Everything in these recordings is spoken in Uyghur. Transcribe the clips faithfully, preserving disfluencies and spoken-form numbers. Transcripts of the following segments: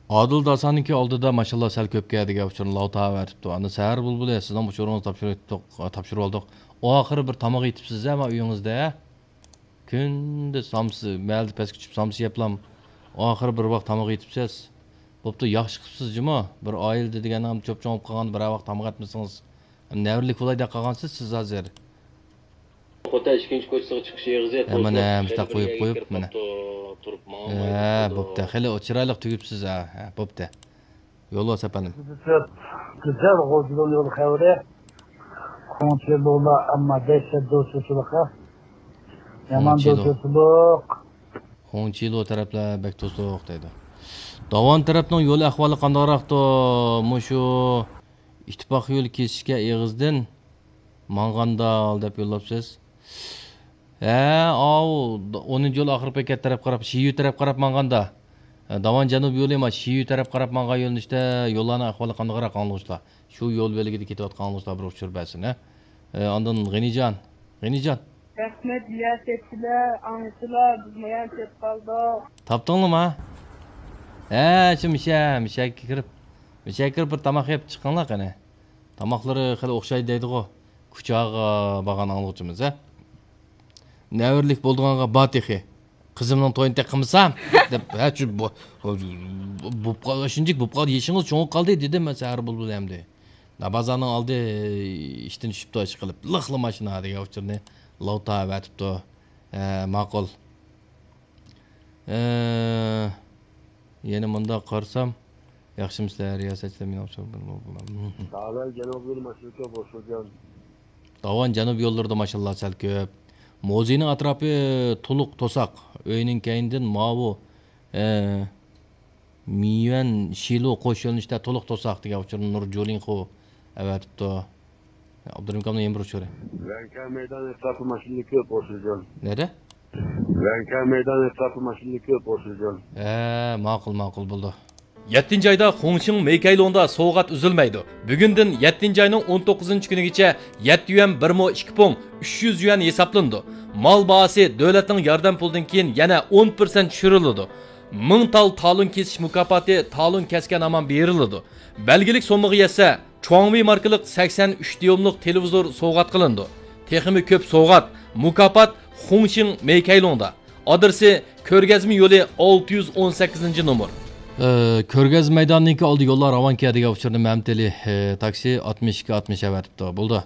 ئادىل داسانىڭكى ئالدىدا ماشاللا سەل كۆپكەن دېگەن ئۇچۇرنى لاۋ تاۋەتىپتۇ. ئاندىن سەھەر بۇلبۇلى، سىزنىڭ ئۇچۇرىڭىزنى تاپشۇرۇۋېتىپتۇق، تاپشۇرۇۋالدۇق. ئاخىرى بىر تاماق يېتىپسىز ھە، ما ئۆيىڭىزدە. كۈندە سامسا، مەھەلدە پەسكە چۈشۈپ سامسا يەپلام، ئاخىرى بىر ۋاق تاماق يېتىپسىز. بوپتۇ، ياخشى قىپسىز جۇمۇ. بىر ئائىلىدە دېگەن چوپ-چوڭ بولۇپ قالغاندا بىرەر ۋاق تاماق ئەتمىسىڭىز، نەۋرىلىك بولاي دەپ قالغانسىز سىز ھازىر. خوتەن ئىككىنچى كوچىسىغا چىقىش ئېغىزى ھە، مانا، مۇشتاق قويۇپ، قويۇپ، مانا. ھە، بوپتۇ، خېلى چىرايلىق تۈگۈپسىز، ھە، ھە، بوپتۇ. يولۋاس ئەپەندىم. گۈزەل غوجىدىن يول خەۋىرى. خۇڭچىلۇلار ئەمما دەھشەت دوستلۇقى. يامان دوستلۇق. خۇڭچىلۇ تەرەپلەر بەك توسۇق دەيدۇ. داۋان تەرەپنىڭ يول ئەھۋالى قانداقراقتۇ؟ مۇشۇ ئىتتىپاق يولى كېسىشكە ئېغىزدىن ماڭغاندال دەپ يوللاپسىز. ھە، ئاۋۇ، ئونىنچى يول ئاخىرقى بېكەت تەرەپ قاراپ، شىيۈ تەرەپ قاراپ ماڭغاندا، ھە، داۋان جەنۇب يولى ما شىيۈ تەرەپ قاراپ ماڭغان يۆنىلىشتە يوللارنىڭ ئەھۋالى قانداقراق ئاڭلىغۇچىلار؟ شۇ يول بۆلىكىدە كېتىۋاتقان ئاڭلىغۇچىلار بىر ئۇچۇر بەرسۇن، ھە. ئە، ئاندىن غېنىجان، غېنىجان. رەھمەت، يا سەپچىلەر، ئاڭچىلار، بىز مايان چېتىپ قالدۇق. تاپتىڭلىما؟ ھە، شۇ مىشە، مىشەگە كىرىپ، مىشەگە كىرىپ بىر تاماق يەپ چىقىڭلار قېنى. تاماقلىرى خېلى ئوخشايدۇ دەيدىغۇ. كۇچاغا بارغان ئاڭلىغۇچىمىز، ھە؟ نەۋرىلىك بولىدىغانغا بار تېخى. قىزىمنىڭ تويىنى تېخى قىلمىسام دەپ، ھە، شۇ بو-، بوپ قال-، شۇنچىلىك بوپ قالدى، يېشىڭىز چوڭىيىپ قالدى دېدىم مەن سەھەر بۇلبۇل ئەمدى. بازارنىڭ ئالدى ئىشتىن چۈشۈپتۇ، ئىشقىلىپ، لىقلا ماشىنا دېگەن ئۇچۇرنى لاۋ تاۋەتىپتۇ. ھە، ماقۇل. ئە، يەنە مۇنداق قارىسام، ياخشىمۇسىلەر، رىياسەتچىلەر، مېنىڭ ئۇچۇر بىر بولۇپ بولار. داۋان جەنۇبىي ماشىنىكى بوشىغان. داۋان جەنۇب يوللىرىدا ماشىنىلار سەل كۆپ. موزىينىڭ ئەتراپى تولۇق توساق. ئۆينىڭ كەينىدىن ماۋۇ، ئە، مىيۈەن شىلۇ قوش يۆنىلىشتە تولۇق توساق دېگەن ئۇچۇرنى نۇر جۇلىڭخۇ ئەۋەتىپتۇ. ئابدۇرېھىم ئاكامنىڭ يەنە بىر ئۇچۇرى. ۋەنكەن مەيدانى ئەتراپى ماشىنىلىرى كۆپ بوشىغان. نەدە؟ ۋەنكەن مەيدانى ئەتراپى ماشىنىلىرى كۆپ بوشىغان. ھە، ماقۇل، ماقۇل بولدى. يەتتىنچى ئايدا خۇڭشىڭ مېيكەيلۇڭدا سوۋغات ئۈزۈلمەيدۇ. بۈگۈندىن يەتتىنچى ئاينىڭ ئون توققۇزىنچى كۈنىگىچە يەتتە يۈەن بىر مو ئىككى پۇڭ ئۈچ يۈز يۈەن ھېسابلىنىدۇ. مال باھاسى دۆلەتنىڭ ياردەم پۇلىدىن كېيىن يەنە ئون پىرسەنت چۈشۈرۈلىدۇ. مىڭ تال تالون كېسىش مۇكاپاتى تالون كەسكەن ھامان بېرىلىدۇ. بەلگىلىك سوممىغا يەتسە، چۇاڭۋېي ماركىلىق سەكسەن ئۈچ دىيوملۇق تېلېۋىزور سوۋغات قىلىنىدۇ. تېخىمۇ كۆپ سوۋغات، مۇكاپات خۇڭشىڭ مېيكەيلۇڭدا. ئادرېسى كۆرگەزمە يولى ئالتە يۈز ئون سەككىزىنچى نومۇر. ئى، كۆرگەزمە مەيدانىنىڭكى ئالدى يوللار راۋان كەدىگە ئۇچۇرنى مەمتىلى، ئى، تاكسى ئاتمىش ئىككى ئاتمىش ئەۋەتىپتۇ. بولدى.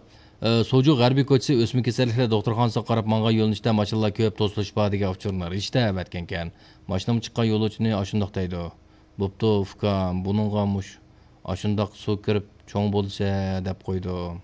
ئى، سوجۇ غەربىي كوچىسى ئۆسمە كېسەللىكلەر دوختۇرخانىسىغا قاراپ ماڭغان يۆنىلىشتە ماشىنىلار كۆپ توسۇلۇش بار دېگەن ئۇچۇرنى رىشتە ئەۋەتكەنكەن. ماشىنىمۇ چىققان يولۇچىنى ئاشۇنداق دەيدۇ. بوپتۇ، ئۇكام، بۇنىڭغا مۇش-، ئاشۇنداق سۇ كىرىپ چوڭ بولسا دەپ قويدۇم.